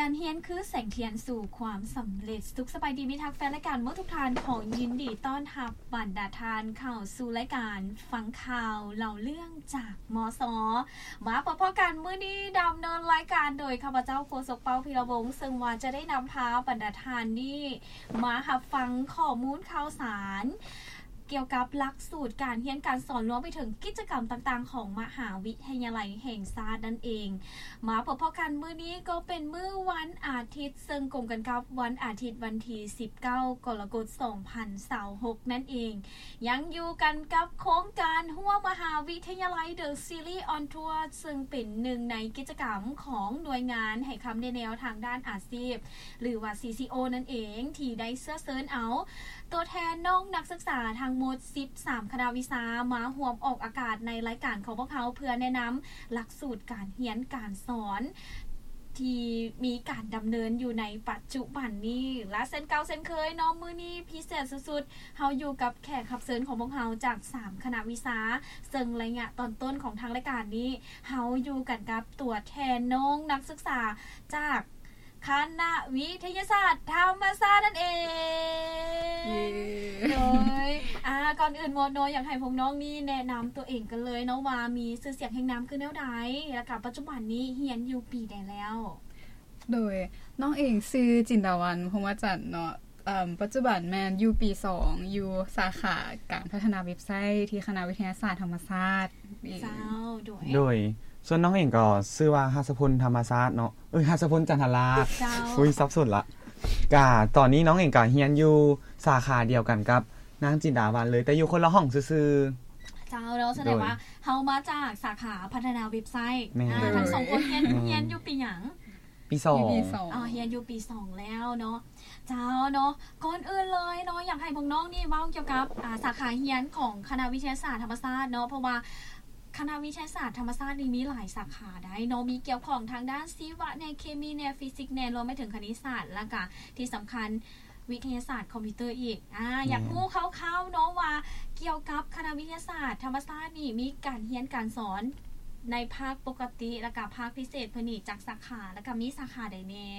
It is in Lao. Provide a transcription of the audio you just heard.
ການຮຽນຄືແສງທຽນສູ່ຄວາມສຳເລັດ. ສຸກສະບາຍດີມິດຮັກແຟນລາຍການໝົດທຸກທ່ານ, ຂໍຍິນດີຕ້ອນຮັບບັນດາທ່ານເຂົ້າສູ່ລາຍການຟັງຂ່າວເລົ່າເລື່ອງຈາກ ມສ. ມາພົບພໍ້ກັນມື້ນີ້ດຳເນີນລາຍການໂດຍຂ້າພະເຈົ້າໂຄສົກ ເປົ້າ ພິລະວົງ ເຊິ່ງວ່າຈະໄດ້ນຳພາບັນດາທ່ານນີ້ມາຮັບຟັງຂໍ້ມູນຂ່າວສານ ກ່ຽວກັບຫຼັກສູດການຮຽນການສອນ ລວມໄປເຖິງກິດຈະກຳຕ່າງໆຂອງມະຫາວິທະຍາໄລແຫ່ງຊາດນັ້ນເອງ. ມາພົບພໍ້ກັນມື້ນີ້ກໍເປັນມື້ວັນອາທິດ ເຊິ່ງກົງກັນກັບວັນອາທິດວັນທີສິບເກົ້າ ກໍລະກົດ ສອງພັນຊາວຫົກນັ້ນເອງ. ຍັງຢູ່ກັນກັບໂຄງການຮ່ວມມະຫາວິທະຍາໄລ The Series on Tour ເຊິ່ງເປັນໜຶ່ງໃນກິດຈະກຳຂອງໜ່ວຍງານໃຫ້ຄຳແນະແນວທາງດ້ານອາຊີບ ຫຼືວ່າ CCO ນັ້ນເອງ ທີ່ໄດ້ເຊື້ອເຊີນເອົາ ຕົວແທນນ້ອງນັກສຶກສາທັງໝົດສິບສາມຄະນະວິຊາມາຮ່ວມອອກອາກາດໃນລາຍການຂອງພວກເຮົາ ເພື່ອແນະນຳຫຼັກສູດການຮຽນການສອນທີ່ມີການດຳເນີນຢູ່ໃນປັດຈຸບັນນີ້ ແລະ ເຊັ່ນເກົ່າເຊັ່ນເຄີຍເນາະ ມື້ນີ້ພິເສດສຸດໆ ເຮົາຢູ່ກັບແຂກຮັບເຊີນຂອງພວກເຮົາຈາກສາມຄະນະວິຊາ ເຊິ່ງໄລຍະຕອນຕົ້ນຂອງທາງລາຍການນີ້ ເຮົາຢູ່ກັນກັບຕົວແທນນ້ອງນັກສຶກສາຈາກ ຄະນະວິທະຍາສາດທຳມະຊາດນັ້ນເອງ. ເຢ້ ໂດຍ ອ່າ ກ່ອນອື່ນໝົດເນາະ ຢາກໃຫ້ພວກນ້ອງນີ້ແນະນຳຕົວເອງກັນເລີຍເນາະ ວ່າມີຊື່ສຽງຮຽງນາມຄືແນວໃດ ແລ້ວກະປັດຈຸບັນນີ້ຮຽນຢູ່ປີໃດແລ້ວ? ໂດຍ ນ້ອງເອງຊື່ ຈິນດາວັນ ພົມມະຈັນ ເນາະ ເອີ່ມ ປັດຈຸບັນແມ່ນຢູ່ປີສອງ ຢູ່ສາຂາການພັດທະນາເວັບໄຊທີ່ຄະນະວິທະຍາສາດທຳມະຊາດ. ເຈົ້າ ໂດຍ ໂດຍ ສ່ວນນ້ອງເອງກໍຊື່ວ່າ ຫັດສະພົນ ທຳມະຊາດເນາະ ເອີຍ ຫັດສະພົນ ຈັນທະລາດ. ເຈົ້າ ອຸ້ຍ ສັບສົນລະ. ກະຕອນນີ້ນ້ອງເອງກະຮຽນຢູ່ສາຂາດຽວກັນກັບນາງຈິນດາວັນເລີຍ ແຕ່ຢູ່ຄົນລະຫ້ອງຊື່ໆ. ເຈົ້າ ແລ້ວສະແດງວ່າ ໂດຍ ເຮົາມາຈາກສາຂາພັດທະນາເວັບໄຊ. ແມ່ນ ອ່າ ທັງສອງຄົນຮຽນ ແມ່ນ ຮຽນຢູ່ປີຫຍັງ? ປີສອງ ຢູ່ປີສອງ ອ່າ ຮຽນຢູ່ປີສອງແລ້ວເນາະ. ເຈົ້າເນາະ ກ່ອນອື່ນເລີຍເນາະ ຢາກໃຫ້ພວກນ້ອງນີ້ເວົ້າກ່ຽວກັບ ອ່າ ສາຂາຮຽນຂອງຄະນະວິທະຍາສາດທຳມະຊາດເນາະ ເພາະວ່າຄະນະວິທະຍາສາດທຳມະຊາດນີ້ມີຫຼາຍສາຂາໃດ໋ເນາະ ມີກ່ຽວຂ້ອງທາງດ້ານຊີວະແດ່ ເຄມີແດ່ ຟີຊິກແດ່ ລວມໄປເຖິງຄະນິດສາດ ແລ້ວກະທີ່ສຳຄັນວິທະຍາສາດຄອມພິວເຕີອີກ. ອ່າ ແມ່ນ ຢາກຮູ້ຄ່າວໆເນາະວ່າ ກ່ຽວກັບຄະນະວິທະຍາສາດທຳມະຊາດນີ້ ມີການຮຽນການສອນໃນພາກປົກກະຕິ ແລ້ວກະພາກພິເສດເພິ່ນນີ້ຈັກສາຂາ ແລ້ວກະມີສາຂາໃດແດ່?